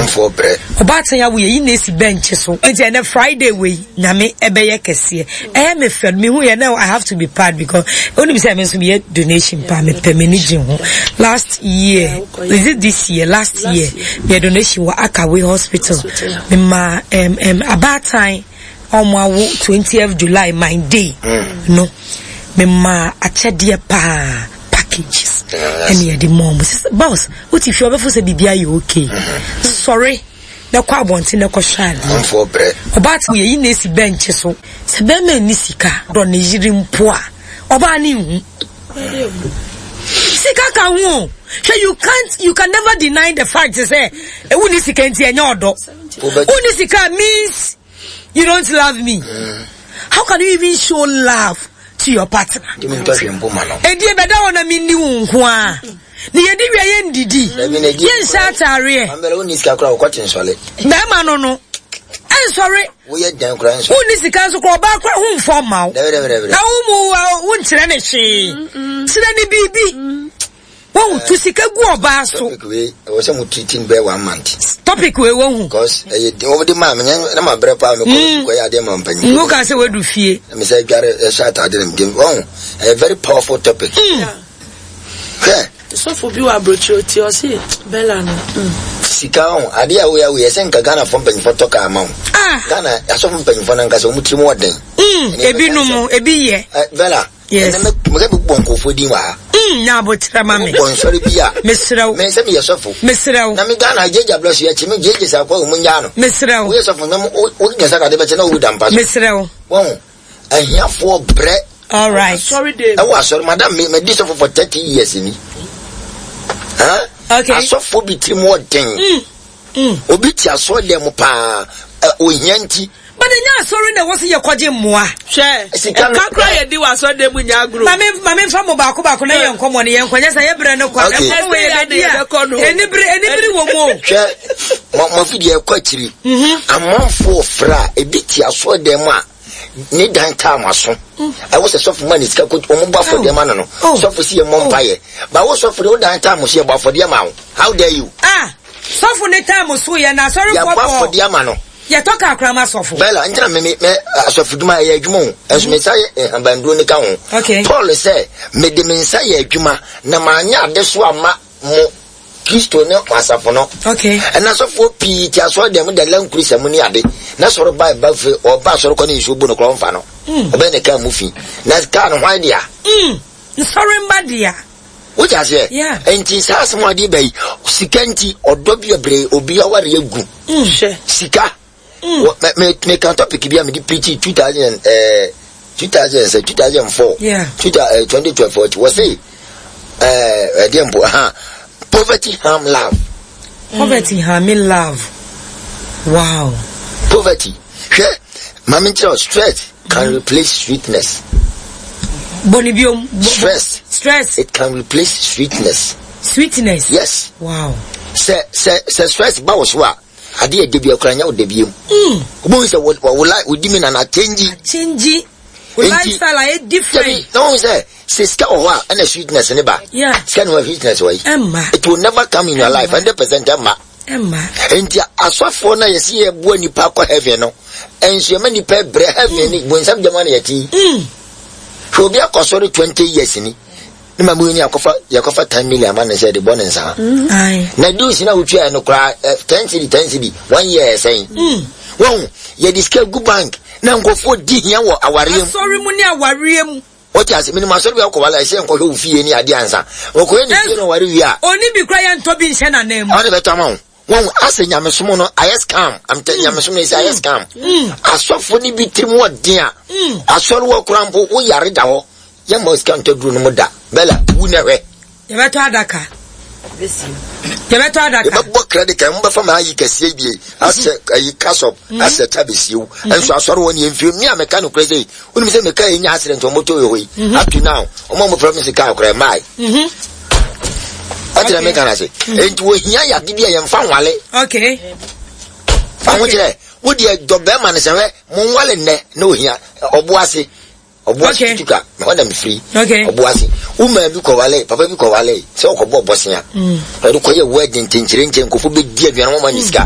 Amanfoɔ brɛ. Ɔbaatan awo yɛ yi na esi bɛnkye so. Nti ɛnɛ Friday wei nyame ɛbɛyɛ kɛseɛ. Ɛyɛ me fɛ me hu yɛ na I have to be proud because onim sɛ me nso meyɛ donation paa me pɛ m'ani gye ho. Last year is it this year last year meyɛ donation wɔ Akawe hospital. Me ma um, um, abaatan ɔmo awo 20th July my day mm. no me ma akyɛdeɛ paa packages ɛne yɛde ma ɔmo sɛ boss wote fie ɔbɛfo sɛ biribi ayɛ okay mm-hmm. sɔre na kɔ abɔnten na kɔhwɛ adeɛ ɔbaa te yɛyi na esi bɛnkye so sɛ bɛrima nni sika dɔ ne yere mpo a ɔbaa ne nhu sika ka ho o hwɛ you can't you can never deny the fact sɛ ewu ne sika nti ɛnyɛ ɔdɔ wonni sika means you don't love me mm. how can you even show love to your partner ɛdie bɛda hɔ na menni wo nko a ne yɛdi wia yɛndidi yɛnhyɛ ataareɛ bɛrima no no ɛnsɔre wonni sika nso kora ɔbaa kora ho mfɔ mma wo na wo mu wonkyerɛ ne hwee kyerɛ ne biribi Wahu tu sika gu ɔbaa so. Topic wei ɛwɔ sɛ mo treat no bɛyɛ one month. Topic wei wahu. Because ɛyɛ den wɔn de maa mi na ma brɛ paa mi kɔ mm. kɔ yɛ adeɛ ma mpanyin. Ngu ka sɛ wadu fie. Na mi sɛ dware ɛhyɛ ataade na mi dem wɔn ɛyɛ very powerful topic. Mm. Hwɛ. Sɔfo bi wɔ aburokyire oti ɔsi Bella no. Mm. Sika ho adeɛ a woyɛ woyɛ sɛ nka Ghana fo mpanyinfoɔ tɔ kaa ma wo. Ah. Ghana asɔfo mpanyinfoɔ nankasa wɔn tirim wɔ den. Mm. Ebi nom ebi yɛ. Bella. Yes. Ɛnɛ mɛ mɛ bɔ nkurɔfoɔ din wɔ ha. Mm, nya abokyerɛ ma me. Bɔ nsɔre bi a. Mesrɛ wo. Mɛ sɛ meyɛ sɔfo. Mesrɛ wo. Na me Ghana gyegye abirɛ so yɛkyi me gyegye sa akɔ ɔmo nyaa no. Mesrɛ wo. Woyɛ sɔfo na wo wo nyɛ sɛ kade bɛkyɛ na wowu da mpa so. Mesrɛ wo. Wɔn ahiafoɔ brɛ. All right. Asɔre de. Ɛwɔ asɔre madam me mɛ di sɔfo for 30 years ni. Huh? Okay. Asɔfo bi tirim wɔ den. Mm. Mm. Obi te asɔre dɛm mu paa, ohia nti. But ɛnyɛ asɔre na ɛwɔ sɛ yɛkɔgye mmoa. Hwɛ, ɛka kora yɛdi wɔ asɔre dɛm mu nyɛ agorɔ. Maame maame nfa mo baako baako na yɛ nkɔmɔ no yɛn nkɔ nyɛ sɛ yɛ brɛ no kwa. Okay. Ɛkɔmɔ wɔ yɛ bɛdi a enibere enibere wɔ mu o. Hwɛ, mo mo fi deɛ ɛkɔ akyiri. Mhm. Amanfoɔ fra ebi te asɔre dɛm mu a ne dan taa mo aso. Mm. Ɛwɔ sɛ sɔfo ma ne sika ko wɔn bɔ afɔdeɛ ma no no. Oh. Sɔfo si yɛ mmɔ oh. mpaeɛ. Bawo sɔfo de wo dan taa mo so yɛ bɔ afɔdeɛ ma wo. How dare you? Ah. Sɔfo ne time so yɛ na asɔrefoɔ Yɛabɔ bɔ. afɔdeɛ ama no. Yɛtɔ kaa koraa ma sɔfo. Bella, nti na me me me asɔfodwuma ɛyɛ adwuma o. Nso me nsa yɛ nhabanduro no ka ho. Okay. Paul sɛ, mede me nsa yɛ adwuma na manyɛ adesoa amma mo, Kristo ne mo asafo no. Okay. Ɛna asɔfoɔ pii te asɔre dɛm da lankurisa mu ne ade. Na sɔre ba ɛba fie, ɔba asɔre kɔ ne nsuo bu no koraa ɔmfa no. Ɔbɛyɛ ne kaa mu fi. Na kaa no hwan dea? Nsɔre mma dea. Wote aseɛ? Yeah. Enti saa asɛm a ɔde ba yi, sika nti, ɔdɔ bi ɔbrɛ obi aware agu. Mm. Hwɛ. Sika. Mm. Wɔ me me me ka topic bi a mede preach 2000 eh 2000 sɛ 2004. Yeah. 2012 wɔ se eh ɛdeɛ mpo ha poverty harm love. Poverty harm love. Wow. Poverty. Hwɛ, maame nkyerɛ stress can mm. replace sweetness. Bɔnni biom. Stress. Stress. It can replace sweetness. Sweetness. Yes. Wow. Sɛ sɛ sɛ stress ba wɔ so a, ade yɛ debi akora nyɛ wo debi mu. Mm. Wobɛhu sɛ wɔ wɔ wɔ wodi mi na na change. Change. Wo lifestyle ayɛ different. Dabi na wɔn sɛ sɛ sika wɔ hɔ a ɛna sweetness ne ba. Yeah. Sika ne wɔ sweetness wɔ yi. Ɛmma. It will never come in your life 100% ɛmma. Ɛmma. Nti asɔfoɔ no a yɛsi yɛ boa nipa akɔ heaven no nso yɛma nipa brɛ heaven ni bonsam gyama na yɛte yi. Mm. Hwɛ obi akɔ sɔre 20 years ni ne ma mu ni akɔfa yɛkɔfa 10 million ama ne sɛ de bɔ ne nsa. Mm. Na dues na wotua no koraa 10 cedi 10 cedi one year ɛsɛn. Mm. Wɔn yɛde sika gu bank na nkurɔfoɔ di hia wɔ awareɛ mu. Asɔre mu ne awareɛ mu. Wote ase? Menim asɔre bi a wokɔware a ɛsɛ nkɔhwɛ wo fie ne adeɛ ansa. Wɔkɔyɛ ne fie na ɔware wie a. Ɔni bi koraa yɛntɔ bi nhyɛ n'anan mu. Ɔde bɛtɔ ama wo. Wɔn asɛ nyamesom no ayɛ scam. I'm telling nyamesom no ɛsɛ ayɛ scam. Asɔfo no bi tirim wɔ den a. Asɔre wɔ koraa mpo wo yare da hɔ. Yɛmma sika ntɔ duro no mu da. Bella, wu na hwɛ. Yɛbɛtɔ adaka. Yɛbɛtɔ adaka. Yɛbɛbɔ credit card mobɛfa ma ayi kɛseɛ bie asɛ ayi kasɔp mm. asɛ ta bɛsie wo mm-hmm. nso asɔre wɔ ne yɛmfie me a meka nokorɛ sɛ wonim sɛ meka ɛnya accident ɔmɔtɔ yɛ hɔ yi mm-hmm. up to now ɔma mɔfra me sika akorɛ mae mm-hmm. ɔte na meka no ase enti wɔhia yade bi a yɛmfa nwale fa ho kyerɛ wodeɛ dɔ bɛrima no sɛ hwɛ monwale nnɛ na ohia ɔbo ase Ɔboase Okay. tutu ka hɔ na mefiri. Okay. Ɔboase. Wo maa bi kɔwale, papa bi kɔwale sɛ ɔkɔbɔ bɔsea. Mm. Ɔde kɔyɛ wedding nkyɛnkyerɛnkyɛn nkurɔfoɔ bɛdi aduane wɔma ne sika.